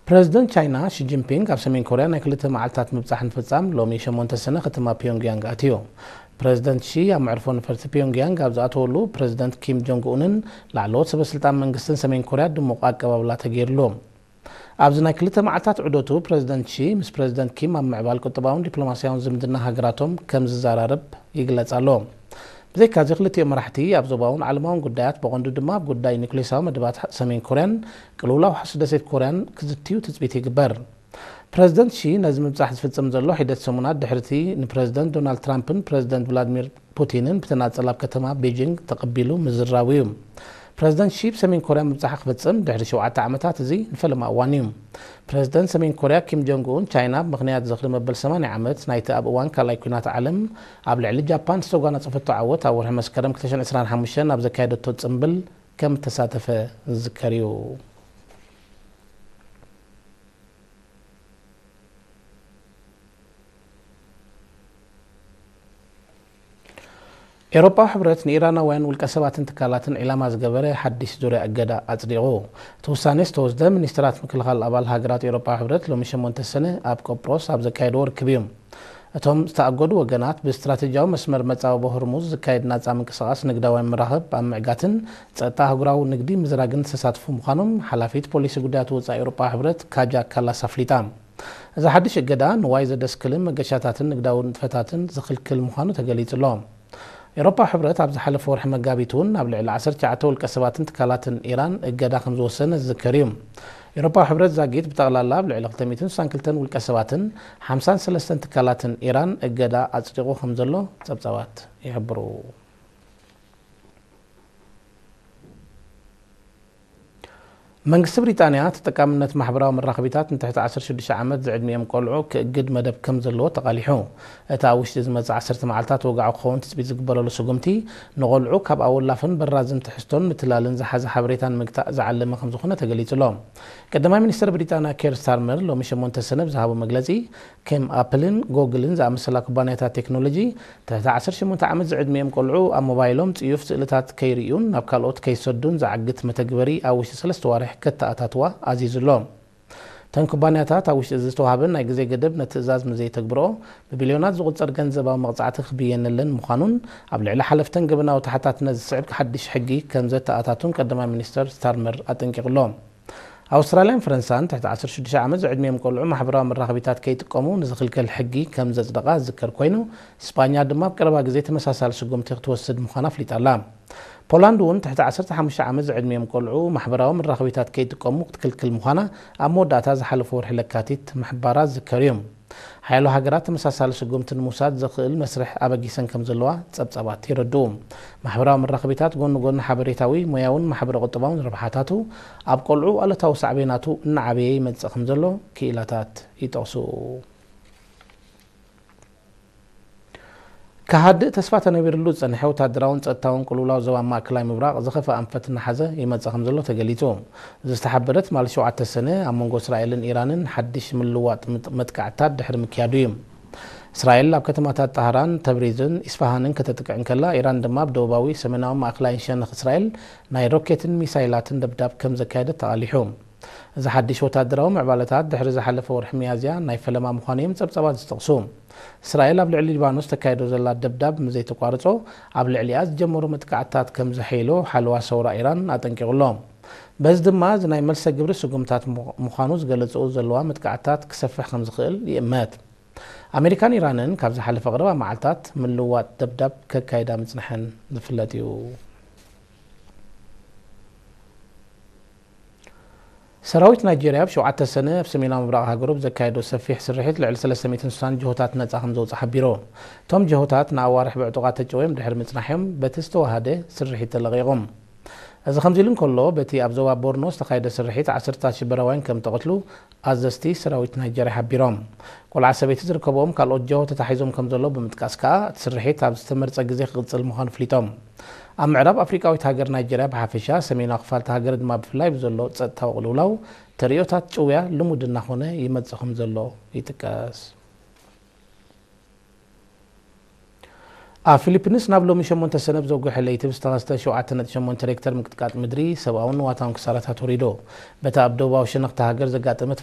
ፕረዚደንት ቻይና ሺ ጂንፒንግ ኣብ ሰሜን ኮርያ ናይ ክልተ መዓልታት ምብጻሕ ንፍጻም ሎሚ ሸሞንተ ሰነ ከተማ ፒዮንግያንግ ኣትዩ። ፕረዚደንት ሺ ኣብ መዕርፎ ነፈርቲ ፒዮንግያንግ ኣብ ዝኣተወሉ፣ ፕረዚደንት ኪም ጆንግ ኡንን ላዕለዎት ሰበስልጣን መንግስትን ሰሜን ኮርያ ድሙቕ ኣቀባብላ ተገይርሉ። ኣብዚ ናይ ክልተ መዓልታት ዑደቱ፣ ፕረዚደንት ሺ ምስ ፕረዚደንት ኪም ኣብ ምዕባል ቁጠባውን ዲፕሎማስያውን ዝምድና ሃገራቶም ከም ዝዘራረብ ይግለጽ ኣሎ። ብዘይካዚ፣ ክልቲኦም መራሕቲ ኣብ ዞባውን ዓለማውን ጉዳያት፣ ብቐንዱ ድማ ኣብ ጉዳይ ኒውክሌሳዊ መደባት ሰሜን ኮርያን ቅልውላው ሓሱ ደሴት ኮርያን ክዝትዩ ትጽቢት ይግበር። ፕረዚደንት ሺ ነዚ ምብጻሕ ዝፍጽም ዘሎ፣ ሒደት ሰሙናት ድሕሪቲ ንፕረዚደንት ዶናልድ ትራምፕን ፕረዚደንት ቭላድሚር ፑቲንን ብተናጸል ኣብ ከተማ ቤጂንግ ተቐቢሉ ምዝራቡ እዩ። ፕረዚደንት ሺ ብሰሜን ኮርያ ምብጻሕ ክፍጽም ድሕሪ ሸውዓተ ዓመታት፣ እዚ ንፈለማ እዋን እዩ። ፕረዚደንት ሰሜን ኮርያ ኪም ጆንግ ኡን፣ ቻይና ብምኽንያት ዝኽሪ መበል ሰማንያ ዓመት ናይቲ ኣብ እዋን ካልኣይ ኲናት ዓለም ኣብ ልዕሊ ጃፓን ዝተጓናጸፈቶ ዓወት፣ ኣብ ወርሒ መስከረም ክልተ ሽሕን ዕስራን ሓሙሽተን ኣብ ዘካየደቶ ጽምብል ከም እተሳተፈ ዝዝከር እዩ። ኤውሮጳዊ ሕብረት ንኢራናውያን ውልቀ ሰባትን ትካላትን ዒላማ ዝገበረ ሓድሽ ዙርያ እገዳ ኣጽዲቑ። እቲ ውሳኔ ዝተወስደ፣ ሚኒስትራት ምክልኻል ኣባል ሃገራት ኤውሮጳዊ ሕብረት ሎሚ ሸሞንተ ሰነ ኣብ ቆጵሮስ ኣብ ዘካየድዎ ርክብ እዩ። እቶም ዝተኣገዱ ወገናት፣ ብስትራተጂያዊ መስመር መጻብቦ ሆርሙዝ ዝካየድ ናጻ ምንቅስቓስ ንግዳውያን መራኽብ ኣብ ምዕጋትን ጸጥታ ኣህጉራዊ ንግዲ ምዝራግን ዝተሳትፉ ምዃኖም ሓላፊት ፖሊሲ ጉዳያት ወጻኢ ኤውሮጳዊ ሕብረት ካጃ ካላስ ኣፍሊጣ። እዚ ሓድሽ እገዳ፣ ንዋይ ዘደስክልን መገሻታትን ንግዳዊ ንጥፈታትን ዝኽልክል ምዃኑ ተገሊጹ ኣሎ። ኤውሮጳዊ ሕብረት ኣብ ዝሓለፈ ወርሒ መጋቢት እውን ኣብ ልዕሊ ዓሰርተ ትሽዓተ ውልቀ ሰባትን ትካላትን ኢራን እገዳ ከም ዝወሰነ ዝዝከር እዩ። ኤውሮጳዊ ሕብረት ዛጊት ብጠቕላላ ኣብ ልዕሊ ክልተ ሚእትን ስሳን ክልተን ውልቀ ሰባትን ሓምሳን ሰለስተን ትካላትን ኢራን እገዳ ኣጽዲቑ ከም ዘሎ ጸብጻባት ይሕብሩ። መንግስቲ ብሪጣንያ ተጠቃምነት ማሕበራዊ መራኸቢታት ንትሕቲ ዓሰርተ ሽዱሽተ ዓመት ዝዕድሚኦም ቆልዑ ክእግድ መደብ ከም ዘለዎ ተቓሊሑ። እቲ ኣብ ውሽጢ ዝመጽእ ዓሰርተ መዓልታት ወግዓዊ ክኸውን ትጽቢት ዝግበረሉ ስጉምቲ፣ ንቆልዑ ካብ ኣወላፍን በራዝን ትሕዝቶን ምትላልን ዝሓዘ ሓበሬታ ንምግታእ ዝዓለመ ከም ዝኾነ ተገሊጹ ኣሎ። ቀዳማይ ሚኒስትር ብሪጣንያ ኬር ስታርመር ሎሚ ሸሞንተ ሰነ ብዝሃቦ መግለጺ፣ ከም ኣፕልን ጎግልን ዝኣመሰላ ኩባንያታት ቴክኖሎጂ፣ ትሕቲ ዓሰርተ ሸሞንተ ዓመት ዝዕድሚኦም ቆልዑ ኣብ ሞባይሎም ጽዩፍ ስእልታት ከይርእዩን ናብ ካልኦት ከይሰዱን ዝዓግት መተግበሪ ኣብ ውሽጢ ሰለስተ ዋርሕ ከተኣታትዋ ኣዚዙ ኣሎ። እተን ኩባንያታት ኣብ ውሽጢ እዚ ዝተዋህበን ናይ ግዜ ገደብ ነቲ ትእዛዝ ምዘይተግብርኦ፣ ብቢልዮናት ዝቑጸር ገንዘባዊ መቕጻዕቲ ክብየነለን ምዃኑን ኣብ ልዕሊ ሓለፍተን ገበናዊ ተሓታትነት ዝስዕብ ሓድሽ ሕጊ ከም ዘተኣታቱን ቀዳማይ ሚኒስተር ስታርመር ኣጠንቂቑ ኣሎ። ኣውስትራልያን ፈረንሳን ትሕቲ ዓሰርተ ሽዱሽተ ዓመት ዝዕድሚኦም ቆልዑ ማሕበራዊ መራኸቢታት ከይጥቀሙ ንዝኽልክል ሕጊ ከም ዘጽደቓ ዝዝከር ኮይኑ፣ ስጳኛ ድማ ኣብ ቀረባ ግዜ ተመሳሳሊ ስጉምቲ ክትወስድ ምዃና ኣፍሊጣ ኣላ። ፖላንድ እውን ትሕቲ ዓሰርተ ሓሙሽተ ዓመት ዝዕድሚኦም ቆልዑ ማሕበራዊ መራኸቢታት ከይጥቀሙ ክትክልክል ምዃና ኣብ መወዳእታ ዝሓለፈ ወርሒ ለካቲት ምሕባራ ዝዝከር እዩ። ሓያሎ ሃገራት ተመሳሳሊ ስጉምቲ ንምውሳድ ዘኽእል መስርሕ ኣበጊሰን ከም ዘለዋ ጸብጻባት የረድኡ። ማሕበራዊ መራኸቢታት ጎኒ ጎኒ ሓበሬታዊ፣ ሞያውን ማሕበረ ቁጠባውን ረብሓታቱ፣ ኣብ ቆልዑ ኣሉታዊ ሳዕቤናቱ እናዓበየ ይመጽእ ከም ዘሎ ክኢላታት ይጠቕሱ። ክሃድእ ተስፋ ተነቢርሉ ዝጸንሐ ወታደራውን ጸጥታውን ቅልውላው ዞባ ማእከላይ ምብራቕ ዝኸፍአ ኣንፈት እናሓዘ ይመጽእ ከም ዘሎ ተገሊጹ። ዝተሓበረ ትማሊ ሸውዓተ ሰነ ኣብ መንጎ እስራኤልን ኢራንን ሓድሽ ምልውዋጥ ምጥ-፣ መጥቃዕትታት ድሕሪ ምክያዱ እዩ። እስራኤል ኣብ ከተማታት ጣህራን፣ ተብሪዝን ኢስፋሃንን ከተጥቅዕ እንከላ፣ ኢራን ድማ ኣብ ደቡባዊ፣ ሰሜናዊ፣ ማእከላይን ሸነኽ እስራኤል ናይ ሮኬትን ሚሳይላትን ደብዳብ ከም ዘካየደት ተቓሊሑ። እዚ ሓድሽ ወታደራዊ ምዕባለታት ድሕሪ ዝሓለፈ ወርሒ ሚያዝያ ናይ ፈለማ ምዃኑ እዮም ጸብጻባት ዝጠቕሱ። እስራኤል ኣብ ልዕሊ ሊባኖስ ተካይዶ ዘላ ደብዳብ ምዘይተቋርጾ፣ ኣብ ልዕሊኣ ዝጀመሩ መጥቃዕትታት ከም ዘሐይሎ ሓለዋ ሰውራ ኢራን ኣጠንቂቑ ኣሎ። በዚ ድማ፣ እዚ ናይ መልሰ ግብሪ ስጉምታት ምዃ-፣ ምዃኑ ዝገለጽኦ ዘለዋ መጥቃዕትታት ክሰፍሕ ከም ዝኽእል ይእመት። ኣሜሪካን ኢራንን ካብ ዝሓለፈ ቀረባ መዓልታት ምልውዋጥ ደብዳብ ከካይዳ ምጽንሐን ዝፍለጥ እዩ። ሰራዊት ናይጄርያ ኣብ ሸውዓተ ሰነ ኣብ ሰሜናዊ ምብራቕ ሃገሩ ብዘካየዶ ሰፊሕ ስርሒት ልዕሊ ሰለስተ ሚእትን ስሳን ጅሆታት ነጻ ከም ዘውጽእ ሓቢሩ። እቶም ጅሆታት ንኣዋርሕ ብዕጡቓት ተጨውዮም ድሕሪ ምጽናሕዮም በቲ ዝተዋሃደ ስርሒት ተለቒቖም። እዚ ከምዚ ኢሉ እንከሎ፣ በቲ ኣብ ዞባ ቦርኖ ዝተኻየደ ስርሒት ዓሰርታት ሽበራውያን ከም ተቐትሉ ኣዘዝቲ ሰራዊት ናይጀርያ ሓቢሮም። ቆልዓ ሰበይቲ ዝርከብዎም ካልኦት ጀሆ ተታሒዞም ከም ዘለዉ ብምጥቃስ ከኣ፣ እቲ ስርሒት ኣብ ዝተመርጸ ግዜ ክቕጽል ምዃኑ ኣፍሊጦም። ኣብ ምዕራብ ኣፍሪቃዊት ሃገር ናይጀርያ ብሓፈሻ፣ ሰሜናዊ ክፋል እታ ሃገር ድማ ብፍላይ ብዘሎ ጸጥታዊ ቅልውላው፣ ተርእዮታት ጭውያ ልሙድ እናኾነ ይመጽእ ከም ዘሎ ይጥቀስ። ኣብ ፊሊፒንስ ናብ ሎሚ ሸሞንተ ሰነ ብዘጉሐ ለይቲ ብዝተኸስተ ሸውዓተ ነጥቢ ሸሞንተ ሬክተር ምንቅጥቃጥ ምድሪ ሰብኣውን ንዋታውን ክሳራታት ወሪዱ። በቲ ኣብ ደቡባዊ ሸነኽ እታ ሃገር ዘጋጠመ